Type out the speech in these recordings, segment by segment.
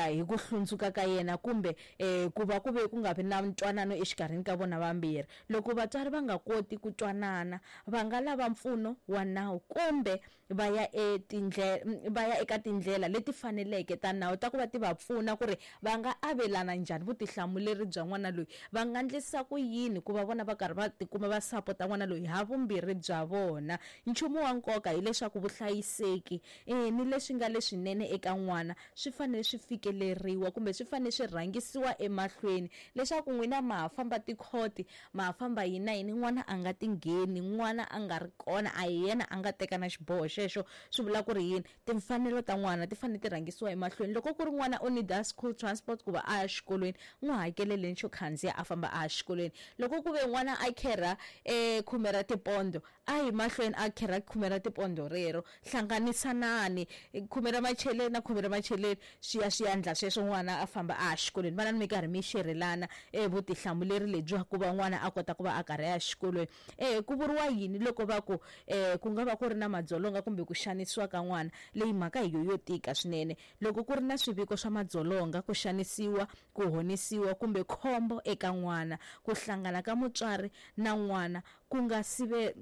hi ku hlundzuka ka yena kumbe ku va ku ve ku nga vi na ntwanano exikarhini ka vona vambirhi. Loko vatswari va nga koti ku twanana, va nga lava mpfuno wa nawu kumbe va ya va ya eka tindlela leti faneleke ta nawu ta ku va ti va pfuna ku ri va nga avelana njhani vutihlamuleri bya n'wana loyi, va nga ndlisa ku yini ku va vona va karhi va tikuma va sapota n'wana loyi ha vumbirhi bya vona. Nchumu wa nkoka hileswaku vuhlayiseki ni leswi nga leswinene eka n'wana swi fanele swi fikeleriwa kumbe swi fanele swi rhangisiwa emahlweni leswaku n'wina ma ha famba tikhoti, ma ha famba yini na yini, n'wana a nga ti ngheni, n'wana a nga ri kona, a hi yena a nga teka na xiboho xexo. Swi vula ku ri yini? Timfanelo ta n'wana ti fanele ti rhangisiwa emahlweni. Loko ku ri n'wana u need school transport ku va a ya xikolweni, n'wi hakeleleni xo khandziya a famba a ya xikolweni. Loko ku ve n'wana a kherha khume ra tipondo, a yi mahlweni a kherha khume ra tipondo rero. Hlanganisanani khume ra macheleni na khume ra macheleni, swi ya swi ya ndla sweswo n'wana a famba a ya xikolweni. Vanani mi karhi mi xerelana vutihlamuleri lebyiwa ku va n'wana a kota ku va a karhi a ya xikolweni. Ku vuriwa yini loko va ku ku nga va ku ri na madzolonga kumbe ku xanisiwa ka n'wana? Leyi mhaka hi yo yo tika swinene. Loko ku ri na swiviko swa madzolonga, ku xanisiwa, ku honisiwa kumbe khombo eka n'wana, ku hlangana ka mutswari na n'wana ku nga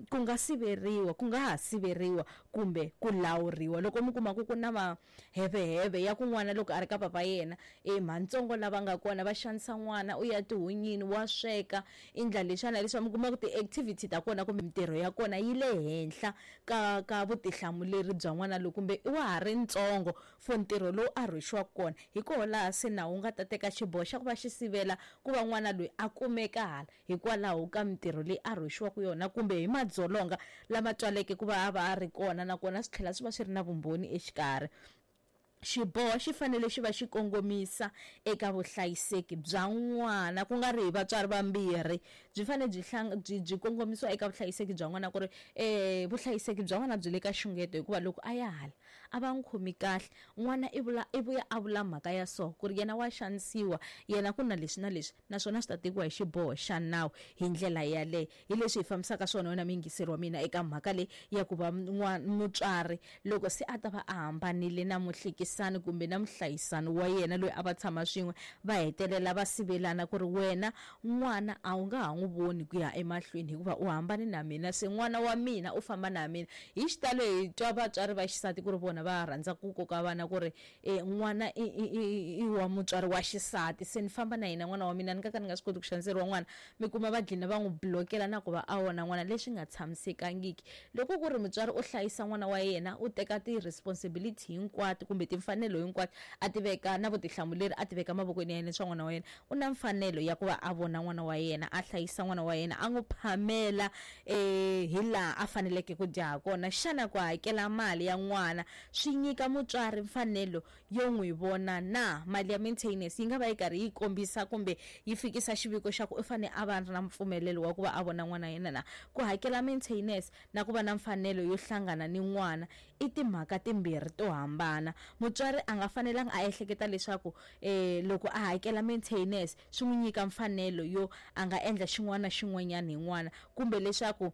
ku nga siveriwa, ku nga ha siveriwa kumbe ku lawuriwa. Loko mi kuma ku ku na maheveheve ya ku n'wana loko a ri ka papa yena, mhantsongo lava nga kona va xanisa n'wana, u ya tihunyini, wa sweka, i ndla leswiya na leswiya, mi kuma ku ti-activity ta kona kumbe mintirho ya kona yi le henhla ka vutihlamuleri bya n'wana loyi, kumbe wa ha ri ntsongo for ntirho lowu a rhwexiwaka kona. Hi koho laha se nawu wu nga ta teka xiboho xa ku va xi sivela ku va n'wana loyi a kumeka hala hikwalaho ka mintirho leyi a rhwexiwaka yona kumbe hi madzolonga lama twaleke ku va a va a ri kona, nakona swi tlhela swi va swi ri na vumbhoni exikarhi. Xiboho xi fanele xi va xi kongomisa eka vuhlayiseki bya n'wana, ku nga ri hi vatswari vambirhi. Byi fanele byi byi kongomisiwa eka vuhlayiseki bya n'wana, ku ri vuhlayiseki bya n'wana byi le ka xungeto, hikuva loko a ya hala a va n'wi khomi kahle. N'wana i vula i vuya a vula mhaka ya so ku ri yena wa xanisiwa, yena ku na leswi na leswi, naswona swi ta tekiwa hi xiboho xa nawu hi ndlela yaleyo. Hi leswi hi fambisaka swona wena muyingiseri wa mina eka mhaka leyi ya ku va mutswari loko se a ta va a hambanile na muhlekisani kumbe na muhlayisani wa yena loyi a va tshama swin'we, va hetelela va sivelana ku ri wena n'wana a wu nga ha n'wi voni ku ya emahlweni hikuva u hambane na mina, se n'wana wa mina u famba na mina. Hi xitalo hi twa vatswari va xisati ku ri vona va rhandza ku koka vana ku ri n'wana i wa mutswari wa xisati, se ni famba na yena n'wana wa mina, ni nga ka ni nga swi koti ku xaniseriwa n'wana. Mi kuma va dlina va n'wi blokela na ku va a vona n'wana, leswi nga tshamisekangiki. Loko ku ri mutswari u hlayisa n'wana wa yena, u teka ti-responsibility hinkwato kumbe timfanelo hinkwato a ti veka na vutihlamuleri a ti veka mavokweni ya yena swa n'wana wa yena, u na mfanelo ya ku va a vona n'wana wa yena, a hlayisa n'wana wa yena, a n'wi phamela hi laha a faneleke ku dya ha kona. Xana ku hakela mali ya n'wana swi nyika mutswari mfanelo yo n'wi vona na? Mali ya maintenance yi nga va yi karhi yi kombisa kumbe yi fikisa xiviko xa ku u fanele a va na mpfumelelo wa ku va a vona n'wana yena na? Ku hakela maintenance na ku va na mfanelo yo hlangana ni n'wana i timhaka timbirhi to hambana. Mutswari a nga fanelanga a ehleketa leswaku loko a hakela maintenance swi n'wi nyika mfanelo yo a nga endla xin'wana na xin'wanyana hi n'wana, kumbe leswaku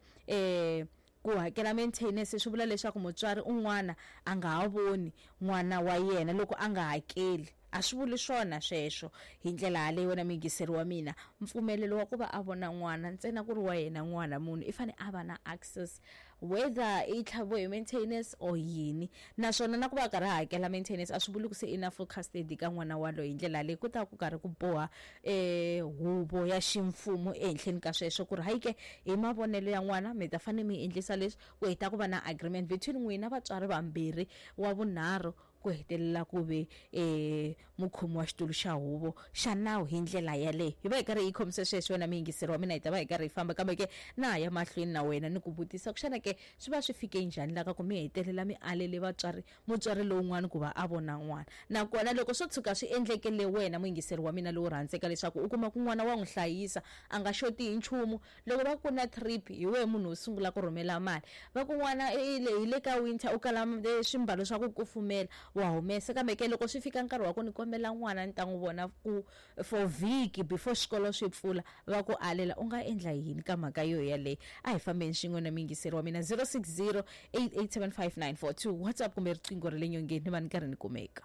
ku hakela maintenance swi vula leswaku mutswari un'wana a nga ha voni n'wana wa yena loko a nga hakeli. A swi vuli swona sweswo. Hi ndlela yaleyo wena muyingiseri wa mina, mpfumelelo wa ku va a vona n'wana ntsena ku ri wa yena n'wana, munhu i fanele a va na access whether i tlhaviwe hi maintenance or yini, naswona na ku va a karhi a hakela maintenance a swi vuli ku se i na full custody ka n'wana waloye. Hi ndlela leyi ku ta ku karhi ku boha huvo ya ximfumo ehenhleni ka sweswo ku ri hayi ke hi mavonelo ya n'wana mi ta fanele mi endlisa leswi, ku heta ku va na agreement between n'wina vatswari vambirhi, wa vunharhu ku hetelela ku ve mukhomi wa xitulu xa huvo xa nawu. Hi ndlela yaleyo hi va hi karhi hi khomise sweswo wena muyingiseri wa mina, hi ta va hi karhi hi famba, kambe ke na ha ya mahlweni na wena ni ku vutisa ku xana ke swi va swi fike njhani la ka ku mi hetelela mi alele vatswari mutswari lowun'wana ku va a vona n'wana. Nakona loko swo tshuka swi endlekele wena muyingiseri wa mina lowu rhandzeka leswaku u kuma ku n'wana wa n'wi hlayisa a nga xoti hi nchumu, loko va ku na trip hi wehe munhu wo sungula ku rhumela mali, va ku n'wana hi le ka winter u kala swimbalo swa ku kufumela wa humesa, kambe ke loko swi fika nkarhi wa ku ni kombela n'wana ni ta n'wi vona ku for vhiki before xikolo swi pfula va ku alela, u nga endla yini ka mhaka yo yaleyo? A hi fambeni swin'we na muyingiseri wa mina 060 8875942 WhatsApp kumbe riqingho ra le nyongeni ni va ni karhi ni kumeka.